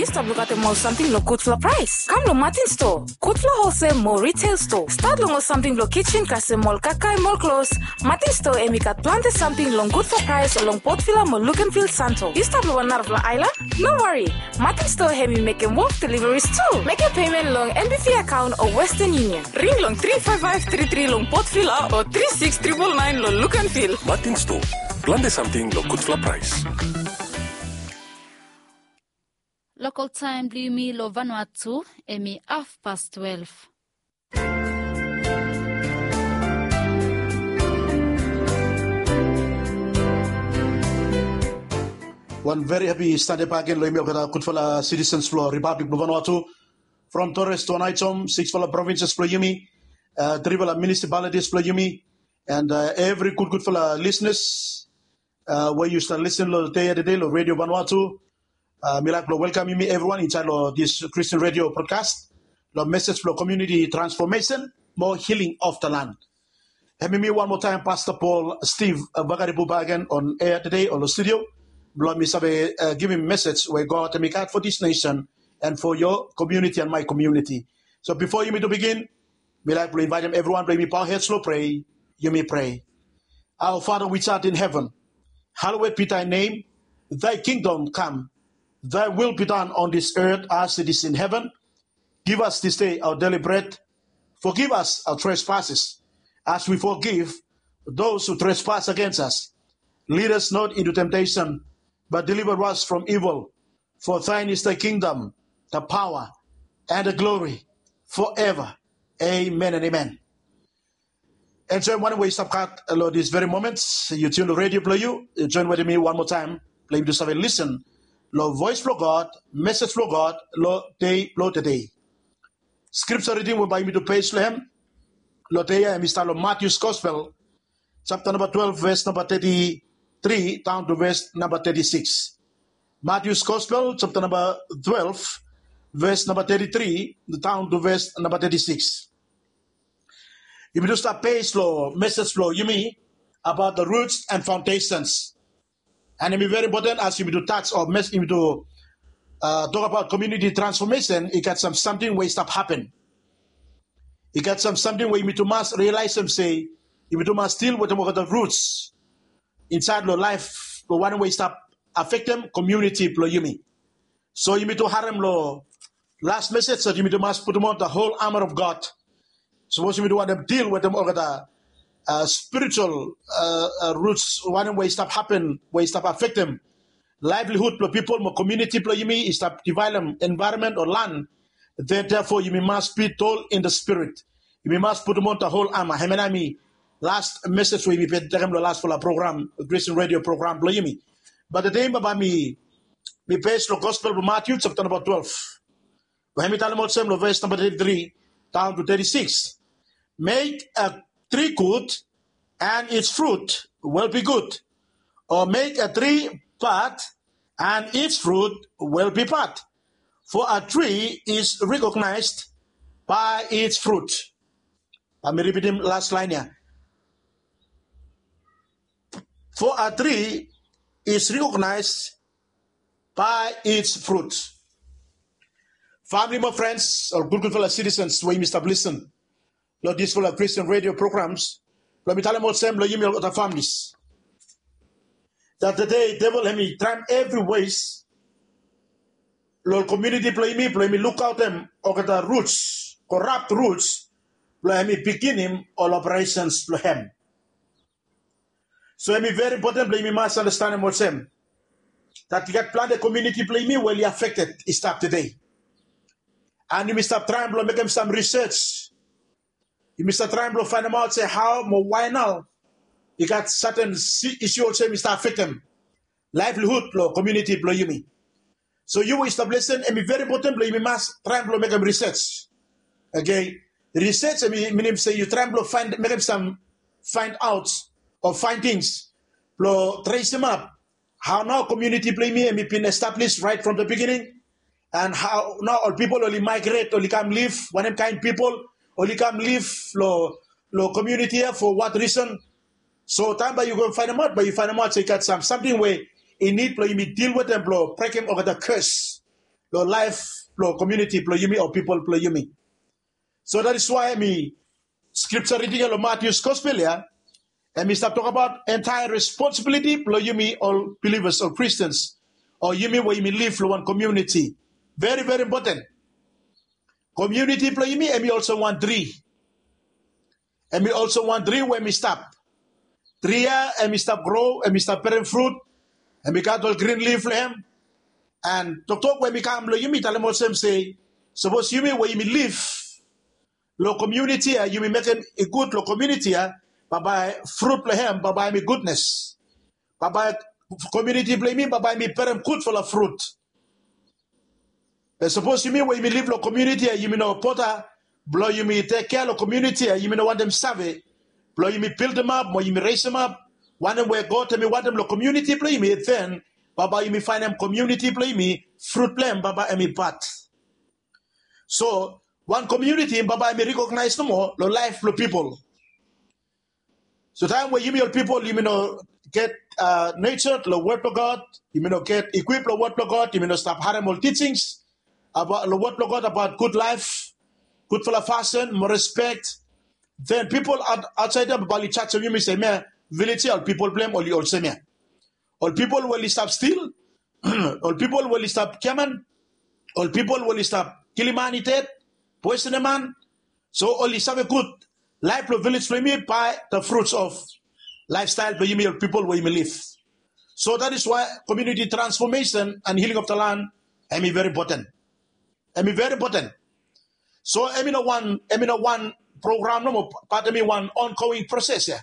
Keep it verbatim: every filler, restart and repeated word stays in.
Yu stap lukaotem ol samting long gudfala praes? Kam long Martin Store, gudfala holsel mo retail store. Stat long ol samting blong kitchen kasem ol kakae mo ol klos. Martin Store hemi gat plante samting long gudfala praes long Port Vila mo Luganville, Santo. Yu stap long wan narafala aelan? No wari. Martin Store hemi mekem wok deliveries tu. Mekem payment long N B V account o Western Union. Ring long tri five five tri tri long Port Vila o tri six triple nine long Luganville. Martin Store, plante samting long gudfala praes. Lokal taem blong yumi long Vanuatu, hemi hafpas twelef. Wan veri hapi Sande bakegen long yumi olgeta gudfala sitisens blong Ripablik blong Vanuatu. From Torres tu Aneityum, siksfala provinses blong yumi, uh, trifala municipalities blong yumi, and uh, evri gudgudfala lisenas uh, we yu stap lisin long dei ya tede long Redio Vanuatu. Uh, mi laik blong welkam yumi evriwan insaed long dis Kristen redio brodkas long mesej blong komuniti transfomesen mo hiling of the land. Hemi mi wan moa taem Pasta Paul Steve uh, Vakaripu bakegen on air tede o long studio blong mi save uh, givim mesej we God hemi gat for dis nesen and for your community and my community. So bifo yumi tu bigin, mi laik blong invaetem evriwan blong yumi paohed long prea. Yumi prea. Our Father which art in heaven, hallowed be thy name. Thy kingdom come. Thy will be done on this earth as it is in heaven. Give us this day our daily bread. Forgive us our trespasses, as we forgive those who trespass against us. Lead us not into temptation, but deliver us from evil. For thine is the kingdom, the power, and the glory forever. Amen and amen. Enjoem wanem we yu stap gat long dis veri moment. Yu tune redio blong yu, yu joen wetem mi wan moa taem blong yumi tu save lisin long voes blong God, mesej blong God long dei blong tede. Skripsa riding we bae yumi tu pes long hem long dei ya hemi stap long Matius Gospel, japta namba twelef, ves namba teti tri daon tu ves namba teti sikis. Matius Gospel, japta namba twelef, ves namba teti tri daon tu ves namba teti sikis. Yumi tu stap pes long mesej blong yumi abaot the roots and foundations. And hemi veri impoten as yumi tu tas o mes yumi tu uh, tok abaot komuniti transfomesen, i gat sam samting we i stap hapen. I gat sam samting we yumi tu mas rialaesem se yumi tu mas dil wetem olgeta ruts insaed long laef blong wanem we i stap afektem komuniti blong yumi. So yumi tu harem long las mesej se yumi tu mas putum on the whole armor of God. Sapos yumi tu wantem dil wetem olgeta uh, spiritual uh, uh, ruts wanem we i stap hapen we i stap afektem laevlihud blong pipol mo komuniti blong yumi i stap divaelem envaeronmen o lan. Then therefore yumi mas be tall in the spirit. Yumi mas putum on the whole armor. Hemia nao hemi las mesej we yumi bin tekem long lasfala program, Christian radio program blong yumi. But tede bae mi mi pes long Gospel blong Matthew chapter namba twelve. Bae hemi talem olsem long ves namba teti tri daon tu teti sikis. Make a tree good and its fruit will be good, or make a tree bad and its fruit will be bad. For a tree is recognized by its fruit. Bae mi ripitim las laen ya. For a tree is recognized by its fruit. Famili mo frens, ol gudgudfala sitisens we yumi stap lisin long disfala Christian radio programs, blong mi talem olsem long yumi olgeta familis, that tede devil hemi traem evri ways long komuniti blong yumi blong yumi lukaotem olgeta ruts, korap ruts, blong hemi biginim ol operesens blong hem. So hemi veri impoten blong yumi mas andastanem olsem, that i gat plante komuniti blong yumi we oli afekted i stap tede. And yumi stap traem blong mekem sam risej. Yumi stap traem blong faenemaot se hao mo wae nao i gat saten isu olsem i stap afektem laevlihud blong komuniti blong yumi. So yu we i stap lisin, hemi veri impoten blong yumi mas traem blong mekem risej. Oke, risej hemi minim se yu traem blong faen mekem sam faenaot o faen tings blong tresemap hao nao komuniti blong yumi hemi bin establis raet from the beginning, and hao nao ol pipol oli maegret, oli kam liv, wanem kaen pipol oli kam liv long komuniti ya, for what reason. So taem bae yu go faenemaot, bae yu faenemaot se i gat sam samting we i nid blong yumi dil wetem blong brekem olgeta kes long laef blong komuniti blong yumi o pipol blong yumi. So that is why mi scripture reading ya long Matthew's gospel ya, and mi stap talk about entire responsibility blong yumi all believers, all Christians, o yumi we yumi live long one community. Very, very important. Community blong yumi em i also one tree. Em i also one tree we em i stap. Tree ya em i stap grow, em i stap bearing fruit, em i gat ol green leaf long em. And toktok we mi kam long yumi talem olsem se, sapos yumi we yumi live long community ya, yumi mekem i gud long community ya, bye bye fruit blong em, bye bye mi goodness. Bye bye community blong yumi, bye bye mi bearing gudfala fruit. Be sapos yumi we yumi live long community ya, yumi no bota blong yumi tek kea long community ya, yumi no wantem save blong yumi buildem ap mo yumi resem ap wanem we God em i wantem long community blong yumi, then bye bye yumi findem community blong yumi fruit blong em bye bye em i bad. So one community bye bye em i recognize nomo long laef blong pipol. So taem we yumi ol pipol yumi no get uh, nurtured long word blong God, yumi no get equip long word blong God, yumi no stap harem ol teachings about long word blong God about good life, gudfala fasin mo respect, then pipol outside ya bali jajim yumi se me village ya ol pipol blong em oli olsem ya. Ol pipol we oli stap stil, ol pipol we oli stap giaman, ol pipol we oli stap kilim man i ded, poisonem man. So oli save gud laef blong village blong yumi by the fruits of lifestyle blong yumi ol pipol we yumi live. So that is why community transformation and healing of the land em i very important. Em i very important. So em i no one em i no one program nomo, but em i one ongoing process ya.